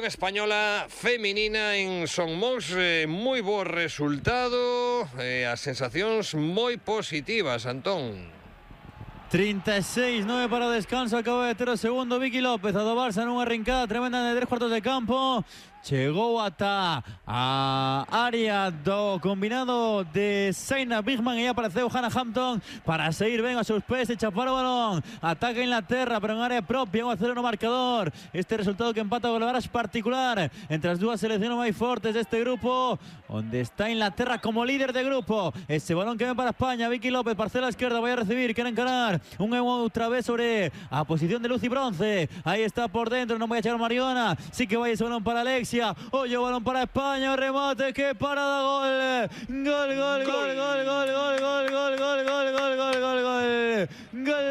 Española feminina en Somos, moi bo resultado, as sensacións moi positivas, Antón. 36-9 para o descanso, acaba de ter o segundo Vicky López, a do Barça nunha rincada tremenda de 3 cuartos de campo. Chegou ata a área do combinado de Zainab Bigman e apareceu Hannah Hampton para seguir ben aos seus pés e chapar o balón. Ataca Inglaterra, pero en área propia, 1-0 no marcador. Este resultado que empata o Golaras particular entre as dúas seleccións máis fortes deste grupo, onde está Inglaterra como líder de grupo. Ese balón que ven para España, Vicky López, parcela esquerda, vai a recibir, quere encarar un e outra vez sobre a posición de Lucy Bronce. Aí está por dentro, non vai a chegar Mariona, sí que vai ese balón para Alexia. Oye, balón para España, remate, que parada, gol. Gol, gol, gol, gol, gol, gol, gol, gol, gol, gol, gol, gol, gol, gol. Gol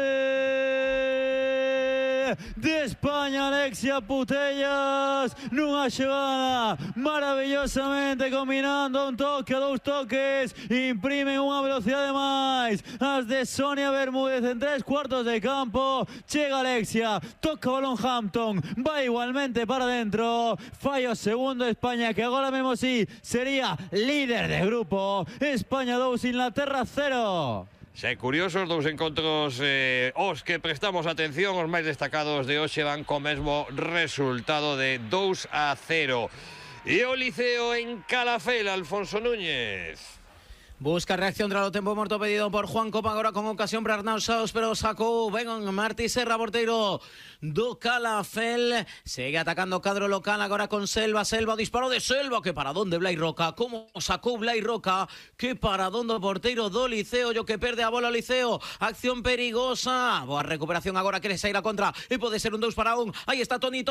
de España, Alexia Putellas, nunha xogada maravillosamente combinando un toque, dous toques, imprimen unha velocidade máis. As de Sonia Bermúdez en 3 cuartos de campo, chega Alexia, toca o balón Hampton, vai igualmente para dentro, falla o segundo España, que agora mesmo sí sería líder de grupo. España 2, Inglaterra 0. Xa é curioso, os dous encontros os que prestamos atención, os máis destacados de hoxe van co mesmo resultado de 2-0. E o Liceo en Calafell, Alfonso Núñez. Busca reacción tras o tempo morto pedido por Juan Copa, agora con ocasión para Arnau Saos, pero sacou ben Martí Serra, porteiro do Calafell. Segue atacando o cadro local agora con Selva, o disparo de Selva, que paradón de Blai Roca, como sacou Blai Roca, que paradón do porteiro do Liceo, yo que perde a bola o Liceo, acción perigosa, boa recuperación agora, quere sair a contra e pode ser un 2-1, aí está Toni,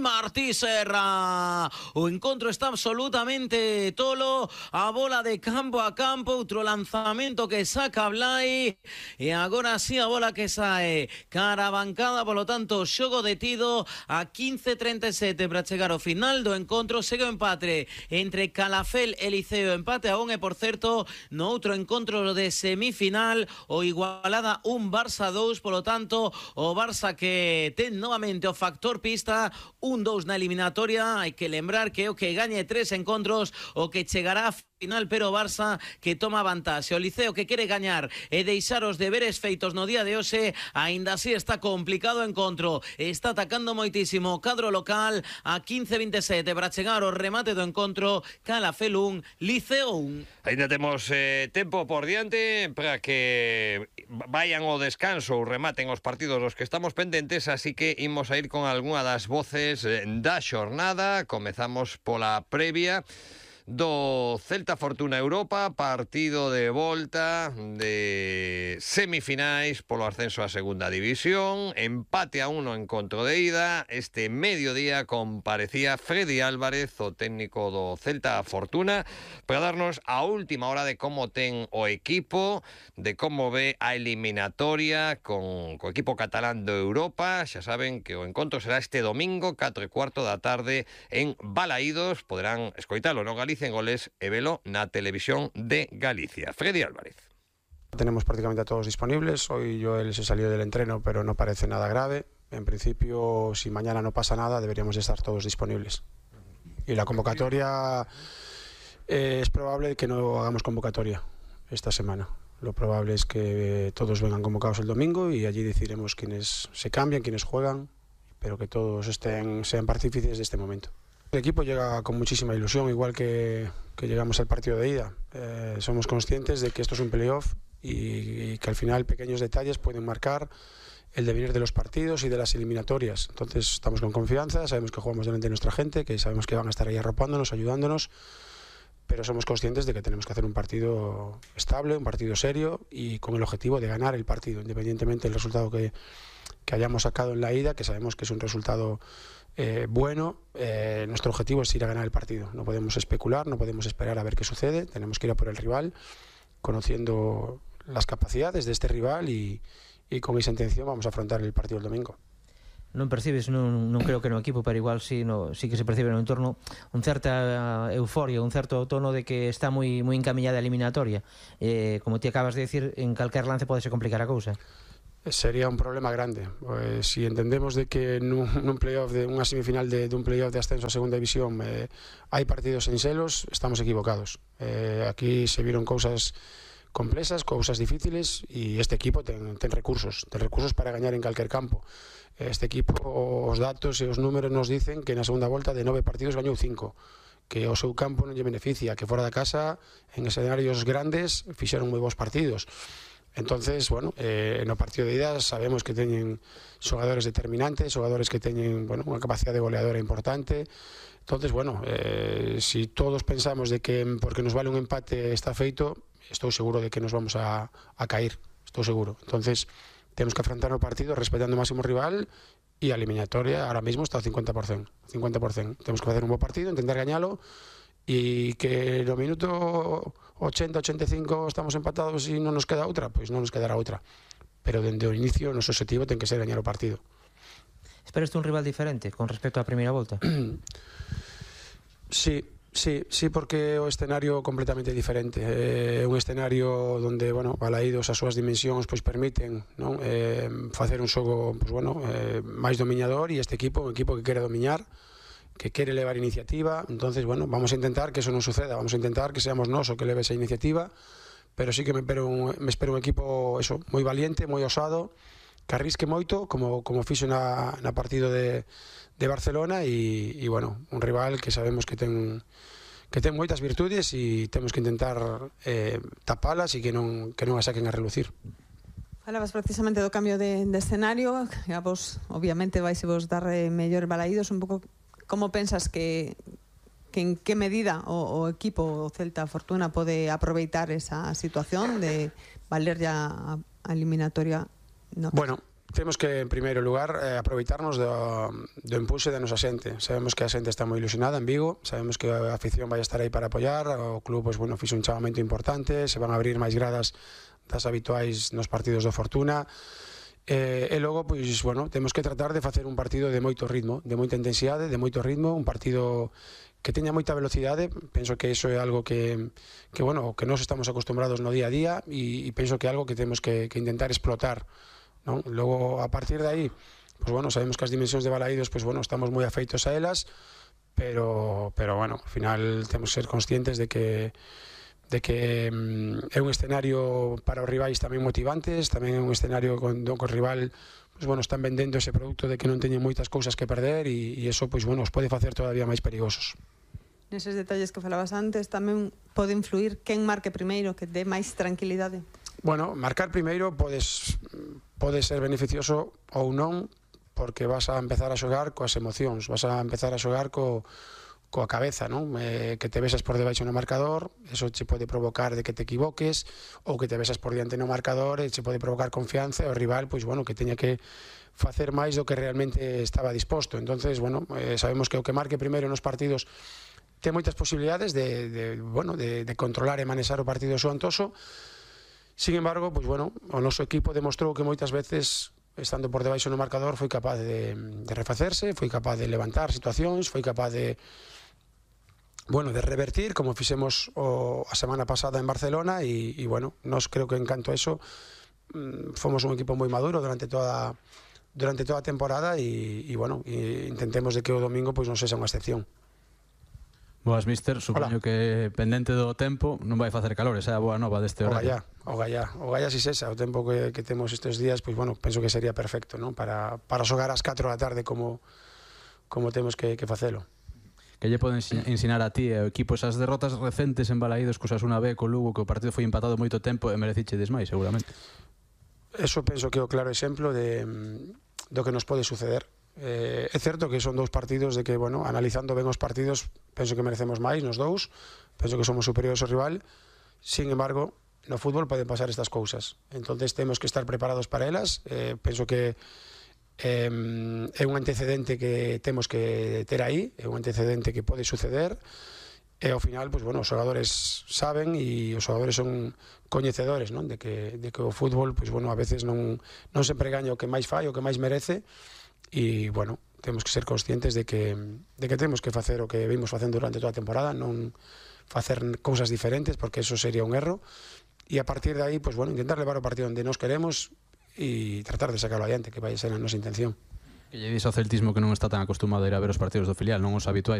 Martí Serra, o encontro está absolutamente tolo, a bola de campo a campo, outro lanzamento que saca Blai e agora sí a bola que sae cara a bancada, polo tanto xogo detido a 15:37 para chegar ao final do encontro. Segue o empate entre Calafell e Liceo, empate a 1 e por certo no outro encontro de semifinal o igualada 1 Barça 2, polo tanto o Barça que ten novamente o factor pista, 1-2 na eliminatoria. Hai que lembrar que o que gañe 3 encontros o que chegará a final, pero Barça que toma vantaxe. O Liceo que quere gañar e deixar os deberes feitos no día de hoxe, aínda así está complicado o encontro, está atacando moitísimo o cadro local a 15:27 para chegar ao remate do encontro. Calafell 1, Liceo 1. Ainda temos tempo por diante para que vayan ao descanso ou rematen os partidos dos que estamos pendentes, así que imos a ir con algunha das voces da xornada. Comezamos pola previa do Celta Fortuna Europa, partido de volta de semifinais polo ascenso a segunda división, empate a 1 no encontro de ida. Este mediodía comparecía Freddy Álvarez, o técnico do Celta Fortuna, para darnos a última hora de como ten o equipo, de como ve a eliminatoria con o equipo catalán de Europa. Xa saben que o encontro será este domingo 4:15 da tarde en Balaídos. Poderán escoitalo no Galicia en Goles e velo na televisión de Galicia. Freddy Álvarez. Tenemos prácticamente a todos disponibles. Hoy Joel se salió del entreno, pero no parece nada grave. En principio, si mañana no pasa nada, deberíamos de estar todos disponibles. Y la convocatoria, es probable que no hagamos convocatoria esta semana. Lo probable es que todos vengan convocados el domingo y allí decidiremos quiénes se cambian, quiénes juegan, pero que todos sean partícipes de este momento. El equipo llega con muchísima ilusión, igual que llegamos al partido de ida. Somos conscientes de que esto es un playoff y que al final pequeños detalles pueden marcar el devenir de los partidos y de las eliminatorias. Entonces estamos con confianza, sabemos que jugamos delante de nuestra gente, que sabemos que van a estar ahí arropándonos, ayudándonos, pero somos conscientes de que tenemos que hacer un partido estable, un partido serio y con el objetivo de ganar el partido, independientemente del resultado que hayamos sacado en la ida, que sabemos que es un resultado bueno. Nuestro objetivo es ir a ganar el partido. No podemos especular, no podemos esperar a ver qué sucede. Tenemos que ir a por el rival, conociendo las capacidades de este rival y con esa intención vamos a afrontar el partido el domingo. Non percibes, non creo que no equipo, pero igual sí que se percibe no entorno un certa euforia, un certo tono de que está moi encamiñada a eliminatoria. Como ti acabas de decir, en calquer lance podese complicar a cousa. sería un problema grande. Pues, si entendemos de que nun playoff, de unha semifinal dun playoff de ascenso a segunda división hai partidos en selos, estamos equivocados. Aquí se viron cousas complexas, cousas difíciles, e este equipo ten recursos para gañar en calquer campo. Este equipo, os datos e os números nos dicen que na segunda volta de 9 partidos gañou 5, que o seu campo non lle beneficia, que fora da casa, en escenarios grandes, fixeron moi bons partidos. Entonces, bueno, no partido de ida sabemos que teñen xogadores determinantes, xogadores que teñen, bueno, unha capacidade goleadora importante. Entonces, bueno, si todos pensamos de que porque nos vale un empate está feito, estou seguro de que nos vamos a caer, estou seguro. Entonces, temos que afrontar o partido respetando o máximo rival, e a eliminatoria ahora mismo está ao 50%. Temos que facer un bo partido, intentar gañalo, e que no minuto 80-85 estamos empatados e non nos queda outra, pois non nos quedará outra. Pero dende o inicio, o noso objetivo ten que ser gañar o partido. Esperas un rival diferente con respecto á primeira volta? Sí, porque o escenario completamente diferente. É un escenario onde, bueno, Balaídos as súas dimensións pois permiten, non, facer un xogo, pois bueno, máis dominador, e este equipo, un equipo que quere domiñar, que quere levar iniciativa. Entonces, bueno, vamos a intentar que eso non suceda, vamos a intentar que seamos nós o que leve esa iniciativa, pero sí que me espero un equipo eso, moi valiente, moi osado, que arrisque moito, como fixo na partido de Barcelona, e bueno, un rival que sabemos que ten moitas virtudes, e temos que intentar tapalas e que non a saquen a relucir. Falabas precisamente do cambio de escenario, que a vos, obviamente, vais vos dar mellor Balaídos. Un pouco, como pensas que en que medida o equipo, o Celta Fortuna, pode aproveitar esa situación de valer ya a eliminatoria? No. Bueno, temos que, en primeiro lugar, aproveitarnos do impulso da nosa xente. Sabemos que a xente está moi ilusionada en Vigo, sabemos que a afición vai estar aí para apoiar, o club, pois, bueno, fixo un chamamento importante, se van a abrir máis gradas das habituais nos partidos do Fortuna, e logo, pois, bueno, temos que tratar de facer un partido de moito ritmo, de moita intensidade, de moito ritmo, un partido que teña moita velocidade. Penso que iso é algo que bueno, que nós estamos acostumbrados no día a día, e penso que é algo que temos que intentar explotar, non? Logo, a partir de aí, pues bueno, sabemos que as dimensións de Balaídos, pues bueno, estamos moi afeitos a elas, pero bueno, ao final temos que ser conscientes de que é un escenario para os rivais tamén motivantes, tamén é un escenario con o rival, pues bueno, están vendendo ese produto de que non teñen moitas cousas que perder, e eso, pues bueno, os pode facer todavía máis perigosos. Neses detalles que falabas antes, tamén pode influir quen marque primeiro, que dé máis tranquilidade? Bueno, marcar primeiro pode ser beneficioso ou non, porque vas a empezar a xogar coas emocións, vas a empezar a xogar coa cabeza, non? Que te besas por debaixo no marcador, eso che pode provocar de que te equivoques, ou que te besas por diante no marcador, e che pode provocar confianza, e o rival, pois bueno, que teña que facer máis do que realmente estaba disposto. Entonces, bueno, sabemos que o que marque primeiro nos partidos ten moitas posibilidades de controlar e manexar o partido xoantoso. Sin embargo, pues bueno, o noso equipo demostrou que moitas veces, estando por debaixo no marcador, foi capaz de refacerse, foi capaz de levantar situacións, foi capaz de revertir, como fixemos a semana pasada en Barcelona, e bueno, nós creo que en canto a eso fomos un equipo moi maduro durante toda a temporada, e bueno, intentemos de que o domingo pois non sexa unha excepción. Boas, mister, supoño que pendente do tempo non vai facer calor, esa é a boa nova deste horario. O gallá si sexa, o tempo que temos estes días, pois bueno, penso que sería perfecto, non? Para xogar ás 4 da tarde como temos que facelo. Que lle poden ensinar a ti e o equipo esas derrotas recentes en Balaídos, co Osasuna B, co Lugo, que o partido foi empatado moito tempo e merecichedes máis, seguramente? Eso penso que é o claro exemplo do que nos pode suceder. É certo que son dous partidos de que, bueno, analizando ben os partidos, penso que merecemos máis nos dous, penso que somos superiores ao rival. Sin embargo, no fútbol poden pasar estas cousas, entonces temos que estar preparados para elas. Penso que é un antecedente que temos que ter aí, é un antecedente que pode suceder, e ao final, pues bueno, os xogadores saben, e os xogadores son coñecedores, non? De que o fútbol, pues bueno, a veces non sempre gaña o que máis fai, o que máis merece. E, bueno, temos que ser conscientes de que temos que facer o que vimos facendo durante toda a temporada, non facer cousas diferentes, porque eso sería un erro, e a partir de aí, pues, bueno, intentar levar o partido onde nos queremos, e tratar de sacarlo adiante, que vai ser a nosa intención. Que lle dis ao celtismo que non está tan acostumado a ir a ver os partidos do filial, non os habituais,